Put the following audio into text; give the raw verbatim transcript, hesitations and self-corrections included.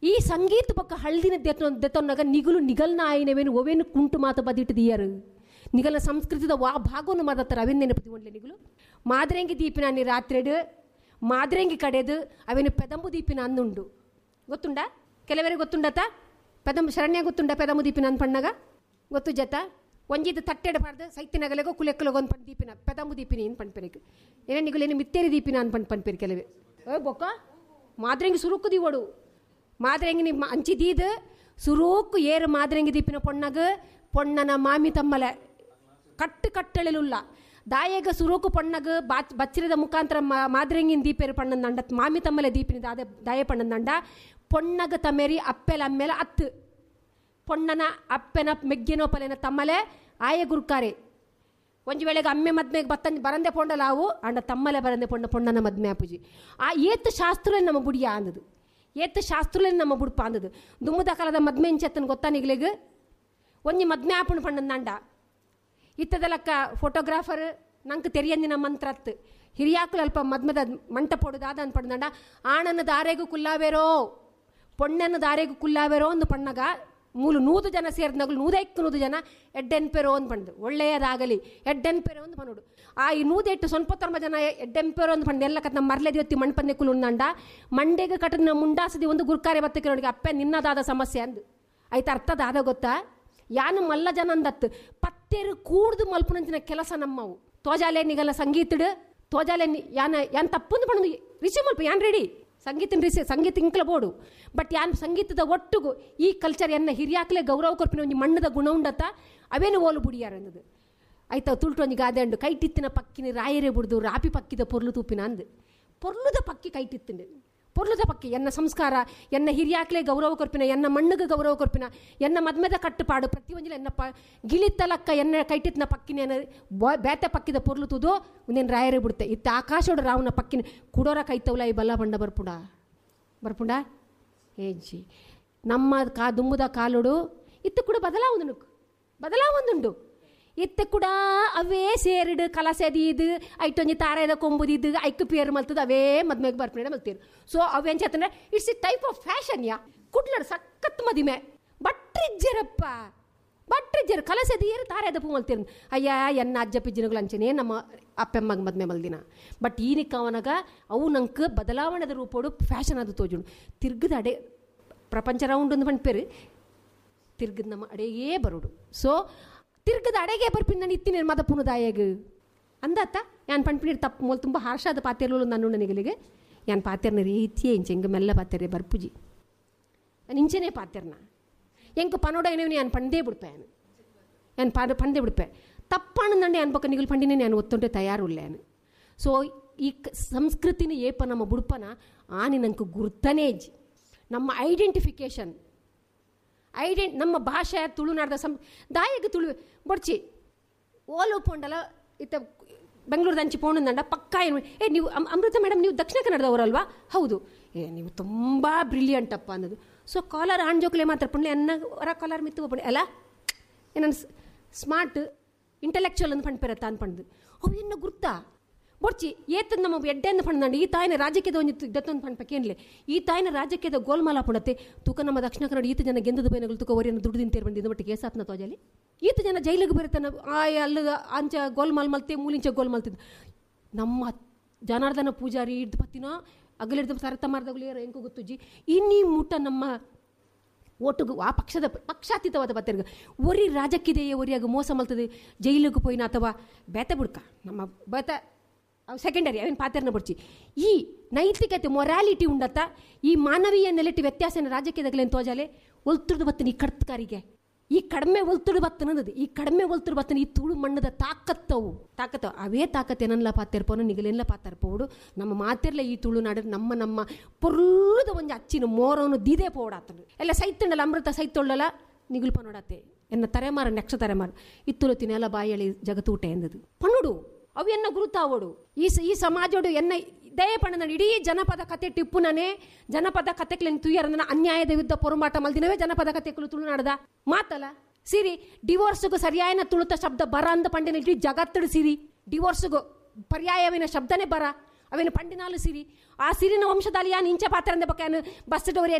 ಈ ಸಂಗೀತ ಪಕ್ಕ ಹಳ್ದಿನ ದೆತ್ತೊನ್ನಾಗ ನಿಗುಲು ನಿಗಲ್ನ ಆಯಿನವೇನು ಒವೇನು ಕುಂಟು ಮಾತು ಬದಿಟ್ಟು ದಿಯರು ನಿಗಲ ಸಂಸ್ಕೃತಿದ ವಾ ಭಾಗವನ್ನು ಮಾದತ್ತಾರೆ ಅವೇನು ನೆನಪು ಒಳ್ಳೆ ನಿಗುಲು ಮಾದ್ರೆಂಗಿ ದೀಪಿನ ನೀ ರಾತ್ರಿಡು ಮಾದ್ರೆಂಗಿ ಕಡೆದು ಅವೇನು ಪೆದಂಬು ದೀಪಿನ ಅಂದುಂಡು ಗೊತ್ತುಂಡ ಕೆಲವರಿಗೆ ಗೊತ್ತುಂಡತ ಪೆದಂಬು ಶರಣ್ಯ ಗೊತ್ತುಂಡ ಪೆದಂಬು ದೀಪಿನ ಅಂದ್ ಪಣ್ಣಾಗ ಗೊತ್ತು ಜತ ಒಂಜಿದ ತಟ್ಟೆಡಬಾರ್ದು ಸೈತಿನಗಲೆಗೋ ಕುಲೆಕ್ಕಲಗೋ ಒಂದು ಪಣ್ ದೀಪಿನ ಪೆದಂಬು ದೀಪಿನಿ ಏನು ಪಣ್ಪೆರಿಗೆ ಏನೇ ನಿಗುಲೇನು ಮಿತ್ತೇರಿ ದೀಪಿನ ಅನ್ ಪಣ್ ಪಣ್ಪೇರಿ ಕೆಲವೇ ಓ ಬೊಕ್ಕ ಮಾದ್ರೆಂಗಿ ಸುರುಕು ದೀವಡು ಮಾದ್ರೆಂಗಿ ನಿಮ್ಮ ಅಂಚಿ ದೀದ್ ಸುರೂಕು ಏರು ಮಾದ್ರೆಂಗಿ ದೀಪಿನ ಪೊಣ್ಣಗ ಪೊಣ್ಣನ ಮಾಮಿ ತಮ್ಮಲೆ ಕಟ್ಟು ಕಟ್ಟಳೆಲುಲ್ಲ ದಾಯಗ ಸುರೂಕು ಪೊಣ್ಣಗ ಬಾಚ್ ಬಚ್ಚಿರದ ಮುಖಾಂತರ ಮಾದ್ರೆಂಗಿನ ದೀಪೇರು ಪಣ್ಣಂದಂಡ ಮಾಮಿ ತಮ್ಮಲೆ ದೀಪಿನ ದಾದ ದಾಯ ಪಣ್ಣಂದಂಡ ಪೊಣ್ಣಗ ತಮೇರಿ ಅಪ್ಪೆಲ ಅಮ್ಮೇಲೆ ಅತ್ತು ಪೊಣ್ಣನ ಅಪ್ಪೆನ ಮೆಗ್ಗೆನೋ ಪಲೆನ ತಮ್ಮಲೆ ಆಯ ಗುರುಕಾರೆ ಒಂಜಿ ವೇಳೆಗೆ ಅಮ್ಮೆ ಮದ್ಮೆಗೆ ಬತ್ತಂಜಿ ಬರಂದೆ ಪೊಂಡಲಾವು ಅಂಡ ತಮ್ಮಲೆ ಬರಂದೆ ಪೊಂಡ ಪೊಣ್ಣನ ಮದ್ಮೆ ಆಪುಜಿ ಆ ಏತ್ ಶಾಸ್ತ್ರಲೇ ನಮ್ಮ ಬುಡಿಯ ಅಂದದು ಏತ್ ಶಾಸ್ತ್ರಲೇ ನಮ್ಮ ಬುಡ್ಪ ಅಂದದು ದುಮ್ಮದ ಕಾಲದ ಮದ್ಮೆ ಇಂಚತ್ತನ ಗೊತ್ತಾ ನಿಗ್ಲೆಗ್ ಒಂಜಿ ಮದ್ಮೆ ಆಪುಣ ಪಣ್ಣಂದಂಡ ಇತ್ತದಲಕ್ಕ ಫೋಟೋಗ್ರಾಫರ್ ನಂಗೆ ತೆರಿಯಂದಿನ ಮಂತ್ರತ್ ಹಿರಿಯಾಕುಲು ಅಲ್ಪ ಮದ್ಮದ ಮಂಟಪೊಡು ದಾದ ಅನ್ ಪಂಡಂಡ ಆಣನ ದಾರೆಗೂ ಕುಲ್ಲಾವೇರೋ ಪೊಣ್ಣನ ದಾರೆಗೂ ಕುಲ್ಲಾವೇರೋ ಅಂದು ಪಣ್ಣಗ ಮೂಲು ನೂದು ಜನ ಸೇರಿದನಗಲು ನೂದೈಕ್ಕು ನೂದು ಜನ ಎಡ್ಡೆನ್ಪೆರೋ ಅಂದ್ ಪಂಡು ಒಳ್ಳೆಯದಾಗಲಿ ಎಡ್ಡೆನ್ಪೆರೋ ಅಂದ್ ಪನ್ನೋಡು ಆ ಈ ನೂದೆಟ್ಟು ಸೊನ್ಪತ್ತೊಂಬ ಜನ ಎಡ್ಡೆಂಪೆರೋ ಅಂದ್ ಪಂಡು ಎಲ್ಲ ಕತ್ ನಮ್ಮ ಮರ್ಲೆದಿ ಹೊತ್ತಿ ಮಣ್ಪಂದೆ ಕುಲುಂದಂಡ ಮಂಡೆಗೆ ಕಟ್ಟದ ಮುಂಡಾಸದಿ ಒಂದು ಗುರ್ಕಾರೆ ಬತ್ತಕ್ಕೆ ನೋಡಿ ಅಪ್ಪೆ ನಿನ್ನದಾದ ಸಮಸ್ಯೆ ಅಂದು ಆಯ್ತು ಅರ್ಥದಾದ ಗೊತ್ತಾ ಯಾನು ಮಲ್ಲ ಜನ ಅಂದತ್ತು ಪತ್ತೇರು ಕೂಡ್ದು ಮಲ್ಪುನಂಚಿನ ಕೆಲಸ ನಮ್ಮವು ತೋಜಾಲೆ ನಿಗಲ್ಲ ಸಂಗೀತಡು ತೋಜಾಲೆ ಯಾನ ಯಾನ್ ತಪ್ಪಂದು ಪಣ್ಣು ರಿಸೀವ್ ಮಲ್ಪ ಯಾನ್ ರೆಡಿ ಸಂಗೀತನ ರಿಸಿ ಸಂಗೀತ ಇಂಕ್ಲ ಬೋಡು ಬಟ್ ಯಾನ್ ಸಂಗೀತದ ಒಟ್ಟುಗು ಈ ಕಲ್ಚರ್ ಎನ್ನ ಹಿರಿಯಾಕ್ಲೆ ಗೌರವ ಕೊರ್ಪಿನ ಒಂಜಿ ಮಣ್ಣದ ಗುಣ ಉಂಡತ್ತ ಅವೇನು ಓಲು ಬುಡಿಯಾರ ಅನ್ನೋದು ಆಯ್ತಾ ತುಳ್ಟು ಒಂಜಿ ಗಾದೆ ಉಂಡು ಕೈಟಿತ್ತಿನ ಪಕ್ಕಿನ ರಾಯರೇ ಬುಡ್ದು ರಾಪಿ ಪಕ್ಕಿದ ಪೊರ್ಲು ತೂಪಿನ ಅಂದು ಪೊರ್ಲುದ ಪಕ್ಕಿ ಕೈಟಿತ್ತುಂಡು ಪೊರ್ಲುದ ಪಕ್ಕಿ ಎನ್ನ ಸಂಸ್ಕಾರ ಎನ್ನ ಹಿರಿಯಾಕ್ಲೆ ಗೌರವ ಕೊರ್ಪಿನ ಎನ್ನ ಮಣ್ಣುಗೆ ಗೌರವ ಕೊರ್ಪಿನ ಎನ್ನ ಮದ್ಮೆದ ಕಟ್ಟುಪಾಡು ಪ್ರತಿಯೊಂಜಿಲ ಎನ್ನ ಪ ಗಿಳಿತಲಕ್ಕ ಎನ್ನ ಕೈಟಿತ್ತಿನ ಪಕ್ಕಿನ ಎನ್ನ ಬೇತೆ ಪಕ್ಕಿದ ಪೊರ್ಲು ತೂದು ಒಂದೇನು ರಾಯರೇ ಬಿಡುತ್ತೆ ಇತ್ತ ಆಕಾಶೋಡು ರಾವನ ಪಕ್ಕಿನ ಕುಡೋರ ಕೈತವಲ ಈ ಬಲ್ಲ ಬಂಡ ಬರ್ಪುಂಡ ಬರ್ಪುಂಡ ಏಜಿ ನಮ್ಮ ಕಾ ದುಮ್ಮುದ ಕಾಲುಡು ಇತ್ತು ಕೂಡ ಬದಲಾವೊಂದು ಬದಲಾವೊಂದುಂಡು ಇತ್ತು ಕೂಡ ಅವೇ ಸೇರಿಡು ಕಲಸೆದೀದು ಐಟೊಂಜಿ ತಾರೆದ ಕೊಂಬುದಿದ್ದು ಐಕ್ ಪೇರು ಮಲ್ತದ ಅವೇ ಮದ್ಮೆಗೆ ಬರ್ಪಣೆ ಮಲ್ತೀರು. ಸೊ ಅವೇನು ಚೇತಂದ್ರೆ it's a type of fashion yeah ಕುಡ್ಲಡ್ ಸಖತ್ ಮದಿಮೆ ಬಟ್ರಿಜ್ಜರಪ್ಪ ಬಟ್ರಿಜ್ಜರು ಕಲಸೆದೀರು ತಾರೆದ ಪೂ ಮಲ್ತೀರು. ಅಯ್ಯ ಎನ್ನ ಅಜ್ಜ ಪಿಜ್ಜಿನಗಳು ಅಂಚನೆ ನಮ್ಮ ಅಪ್ಪೆಮ್ಮಗ ಮದ್ಮೆ ಮಲ್ದಿನ. ಬಟ್ ಈನಿಕ್ಕವನಾಗ ಅವು ನಂಗೆ ಬದಲಾವಣೆದ ರೂಪೋಡು ಫ್ಯಾಷನ್ ಅದು ತೋಜುಂಡು ತಿರ್ಗದ ಅಡೆ ಪ್ರಪಂಚ ರೌಂಡ್ ಒಂದು ಪಂಡ್ಪೇರು ತಿರ್ಗದ ನಮ್ಮ ಅಡೆಯೇ ಬರೋಡು. ಸೊ ತಿರ್ಗದ ಅಡೆಗೆ ಬರ್ಪಿನ ನಾನು ಇತ್ತೀನಿ ಮದ ಪುನದಾಯಗ ಅಂದಾತ ಯಾನ್ ಪಂಡ್ಪಿನಿ ತಪ್ಪು ಮೊಲ್ ತುಂಬ ಹಾರ್ಷಾದ ಪಾತೆರ್ಲು ನಾನು ನನಗೆ ಯಾನ್ ಪಾತೆರ್ನ ರೀತಿಯೇ ಇಂಚೆ ಎಂಗ ಮೆಲ್ಲ ಪಾತೆರೆ ಬರ್ಪುಜಿ ನಾನು ಇಂಚೆನೇ ಪಾತೆರ್ನ ಎಂಕ ಪನೋಡ ಏನೇನು ಯಾನ್ ಪಂದೇ ಬಿಡ್ಪೆ ಯಾನು ಯಾನ್ ಪಾದ ಪಂದೇ ಬಿಡ್ಪೆ ತಪ್ಪಣ್ಣಂದಂಡೆ ಯಾನ್ ಪಕ್ಕ ನಿಗಲು ಪಂಡಿನೇ ನಾನು ಒತ್ತೊಂಡೆ ತಯಾರುಲ್ಲ ಯಾನು. ಸೊ ಈ ಸಂಸ್ಕೃತಿನ ಏಪ ನಮ್ಮ ಬುಡ್ಪನ ಆನಿ ನಂಗೆ ಗುರ್ತನೇ ಇಜ್ಜಿ ನಮ್ಮ ಐಡೆಂಟಿಫಿಕೇಷನ್ ಐಡೆಂಟ್ ನಮ್ಮ ಭಾಷೆ ತುಳುನಾಡ್ದ ಸಂ ದಾಯಗ ತುಳು ಬೊಡ್ಚಿ ಓಲು ಪೋಂಡಲ ಇತ್ತ ಬೆಂಗಳೂರದ ಅಂಚಿ ಪೋಣಂದಂಡ ಪಕ್ಕಾ ಏನು ಏ ನೀವು ಅಮೃತ ಮೇಡಮ್ ನೀವು ದಕ್ಷಿಣ ಕನ್ನಡದವರಲ್ವಾ? ಹೌದು. ಏ ನೀವು ತುಂಬ ಬ್ರಿಲಿಯಂಟ್ ಅಪ್ಪ ಅನ್ನೋದು. ಸೊ ಕಾಲರ್ ಆಣ್ ಜೋಕ್ಲೆ ಮಾತ್ರ ಪುಣ್ಯ ಎನ್ನ ಹೊರ ಕಾಲರ್ ಮಿತ್ತು ಪುಣ್ಯ ಅಲ್ಲ ಏನನ್ ಸ್ಮಾರ್ಟ್ ಇಂಟೆಲೆಕ್ಚುವಲ್ ಅಂದ್ ಪಂಡ್ ಪೆರತ್ತ ಅಂದ್ ಪಂಡ್ದು ಅವು ಎನ್ನ ಗುರ್ತಾ ಬೊಡ್ಚಿ ಏತದ್ ನಮ್ಮ ಎಡ್ಡೆಂದು ಪಂಡ್ದಂಡ ಈ ತಾಯಿನ ರಾಜಕೀಯದ ಒಂದು ದತ್ತೊಂದು ಪಂಡ್ಪಕ್ಕೇನ್ಲೆ ಈ ತಾಯಿನ ರಾಜಕೀಯದ ಗೋಲ್ಮಾಲ ಪುಣತೆ ತೂಕ ನಮ್ಮ ದಕ್ಷಿಣ ಕನ್ನಡ ಈತ ಜನ ಗೆಂದದ ಬೈನಗಳು ತೂಕ ಒರಿಯನ್ನು ದುಡ್ಡು ತಿಂತೇರ್ ಬಂದಿದ್ದು ಮಟ್ಟಿಗೆ ಏಸಾತ್ನ ತೋಜಲಿ ಈತ ಜನ ಜೈಲಿಗೆ ಬರುತ್ತಾನ ಆ ಅಲ್ಲ ಅಂಚ ಗೋಲ್ಮಾಲ್ ಮಲ್ತೆ ಮೂಲಿಂಚ ಗೋಲ್ ಮಲ್ತಿದ್ದು ನಮ್ಮ ಜನಾರ್ದನ ಪೂಜಾರಿ ಹಿಡ್ದು ಪತ್ತಿನ ಅಗಲಿಡ್ದು ಸರತ ಮಾರ್ದಗಳು ಏರ ಎಂಕು ಗೊತ್ತುಜ್ಜಿ ಇನ್ನೀ ಮುಟ್ಟ ನಮ್ಮ ಓಟುಗು ಆ ಪಕ್ಷದ ಪಕ್ಷಾತೀತವಾದ ಬತ್ತಿರ್ಗ ಒರಿ ರಾಜಕೀಯ ಒರಿಯಾಗ ಮೋಸ ಮಲ್ತದೆ ಜೈಲಿಗೆ ಪೋಯಿನ ಅಥವಾ ಬೇತ ಬುಡ್ಕ ನಮ್ಮ ಬೇತ ಸೆಕೆಂಡರಿ ಅವೇನು ಪಾತ್ರನ ಬಡ್ಚಿ ಈ ನೈತಿಕತೆ ಮೊರಾಲಿಟಿ ಉಂಡತ್ತ ಈ ಮಾನವೀಯ ನೆಲೆಟಿ ವ್ಯತ್ಯಾಸನ ರಾಜಕೀಯದಾಗಲೇನು ತೋಜಾಲೆ ಒಲ್ತುರ್ದು ಬತ್ತನ ಈ ಕಡ್ತಕಾರಿಗೆ ಈ ಕಡಿಮೆ ಒಲ್ತುಡು ಬತ್ತನದು ಈ ಕಡಿಮೆ ಒಲ್ತುಡು ಬತ್ತನ ಈ ತುಳು ಮಣ್ಣದ ತಾಕತ್ತವು ತಾಕತ್ತವು ಅವೇ ತಾಕತ್ತು ಏನಲ್ಲ ಪಾತಿರ್ಪೋನು ನಿಗಲೆಲ್ಲ ಪಾತಿರ್ಪೋಡು ನಮ್ಮ ಮಾತಿರ್ಲ ಈ ತುಳುನಾಡು ನಮ್ಮ ನಮ್ಮ ಪೊರ್ಲುದ ಒಂಜಿ ಅಚ್ಚಿನ ಮೋರವನ್ನು ದಿದೇ ಪೋಡಾತನು ಎಲ್ಲ ಸೈತಂಡಲ್ಲ ಅಮೃತ ಸೈತೊಳ್ಳಲ್ಲ ನಿಗುಲು ಪನೋಡಾತೆ ಎನ್ನ ತರೆಮಾರ ನೆಕ್ಷ ತರೆಮಾರ ಇತ್ತುಲು ತಿನೆಲ್ಲ ಬಾಯಳಿ ಜಗತ್ತೂಟ ಎಂದದು ಪನ್ನುಡು ಅವು ಎನ್ನ ಗುರುತಾವೋಡು ಈ ಈ ಸಮಾಜೋಡು ಎನ್ನ ದಯ ಪಣ್ಣನ ಇಡೀ ಜನಪದ ಕತೆ ಟಿಪ್ಪುನನೇ ಜನಪದ ಕತೆಕ್ಲೇನು ತುಯ್ಯರಂದನ ಅನ್ಯಾಯದ ವಿರುದ್ಧ ಪೊರುಮಾಟ ಮಲ್ದಿನವೇ ಜನಪದ ಕತೆಗಳು ತುಳುನಾಡದ ಮಾತಲ್ಲ ಸಿರಿ ಡಿವೋರ್ಸ್ಗೂ ಸರಿಯಾಯನ ತುಳುತ ಶಬ್ದ ಬರ ಅಂದ ಪಂಡಿನ ಇಡೀ ಜಗತ್ತಡು ಸಿರಿ ಡಿವೋರ್ಸ್ಗೂ ಪರ್ಯಾಯವಿನ ಶಬ್ದನೇ ಬರ ಅವೇನು ಪಂಡಿನಾಲು ಸಿರಿ ಆ ಸಿರಿನ ವಂಶದಲ್ಲಿ ಯಾನು ಇಂಚ ಪಾತ್ರ ಅಂದ ಬಕ್ಕ ಬಸ್ ಡೋರಿ